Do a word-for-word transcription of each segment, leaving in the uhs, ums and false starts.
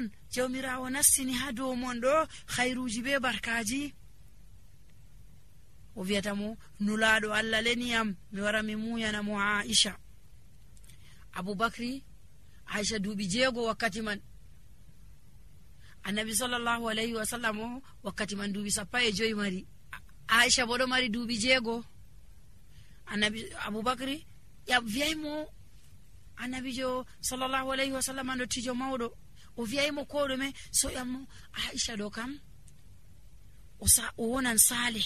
on jawmirawo nassini ha dow mon ɗo khairuji be barkaji. o wi'ata mo nulaɗo Allah leniyam mi wara mi muyana mo Aisha. Abubakri Aisha duuɓi jeego wakkati man, annabi sallallahu alayhi wa sallam o wakkati man duuɓi sappo e joyi mari, Aisha bo ɗo mari duuɓi jeego. annabi Abubakri ya wiyaymo annabijo sallallahu alayhi wa sallam ndottijo mawɗo, o wiyaymo ko ɗume, so yammo Aisha ɗo kam o sa o wonan sale,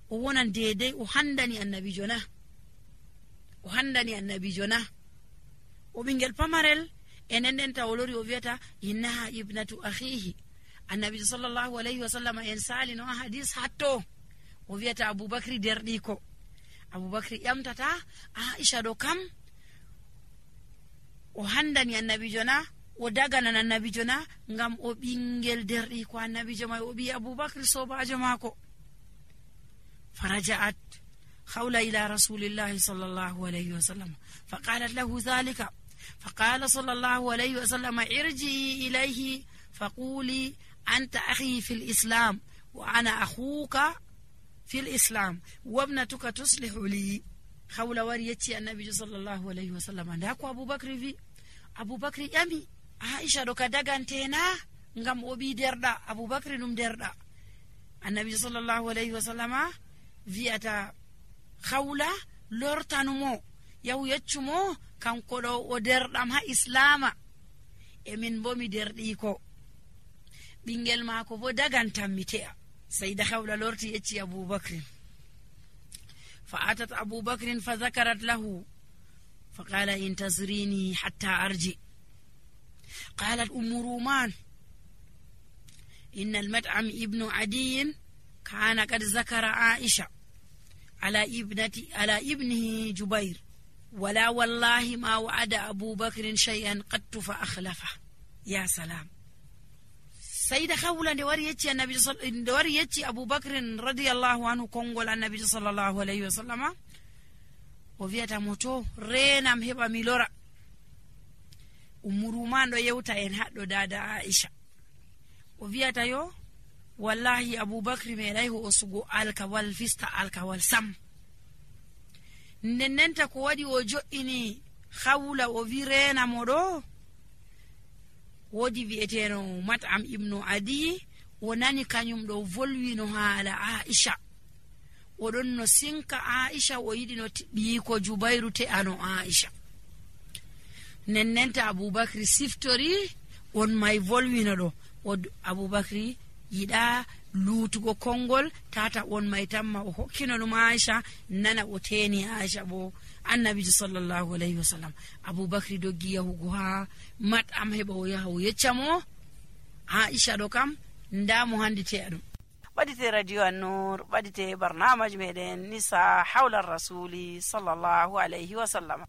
o wonan dedei, o handani annabijo na o handani annabijo na o ɓingel pamarel. enen nden ta o lori o wiyata innaha ibnatu akhihi. annabijo sallallahu alayhi wa sallam en sali no hadis hatto o wiyata Abubakri derɗiko. Abubakri ƴamtata Aisha ɗo kam o handani annabijo na, o daganan annabijo na, ngam o ɓingel derɗiko annabijo mai, o ɓi Abubakri sobajo mako. فرجعت خولة إلى رسول الله صلى الله عليه وسلم فقالت له ذلك، فقال صلى الله عليه وسلم ارجعي إليه فقولي أنت أخي في الإسلام وأنا أخوك في الإسلام وابنتك تصلح لي. خولة وريتي النبي صلى الله عليه وسلم داكو أبو بكر في أبو بكر يمي عائشة دوكا دغانتينا ngam obi derda Abubakri num derda. Annabi sallallahu alayhi wa sallama vi'ata khawla lortanumo yaw yeccumo kanko ɗo o derɗam ha islama, e min bo mi derɗi ko ɓingel maako bo dagantam mi te'a. sayda khawla lorti yecci Abubakrin, fa atat Abubakrin fa zakarat lahu fa qala intazrini hatta arji. qalat ummu ruman إن المطعم ابن عدي كان قد ذكر عائشة على ابنتي على ابنه جبير، ولا والله ما وعد أبو بكر شيئا قد فأخلفه. يا سلام. سيدة خولة دوريتي النبي صل دوريتي أبو بكر رضي الله عنه كونغول النبي صلى الله عليه وسلم وفيتا موتو رينام هبا ميلورا ومرومان دو يوتا إن هادو دادا عائشة o wiyata yo wallahi Abubakri meɗay ho o sugo alkawal fista alkawal sam. Ndennenta ko waɗi o jo'ini khawla o wi rena mo ɗo, wodi wi'eteno Mat'am ibnu Adi o nani kanyum ɗo volwino haala Aisha, oɗon no sinka Aisha, o yiɗi no ɓiyiko Jubairu te'ano Aisha. Nennenta Abubakri siftori on may volwino ɗo, o Abubakri yiɗa luutugo kongol tata on may tamma o hokkino ɗum Aisha, nana o teni Aisha bo annabijo sallallahu alayhi wa sallam. Abubakri doggi yahugo ha Mat'am heɓa o yaha o yecca mo Aisha ɗo kam nda mo handi te'a ɗum. ɓadite radio An-Nur, ɓadite barnamaji meɗen nisa hawla rasuli sallallahu alayhi wa sallam.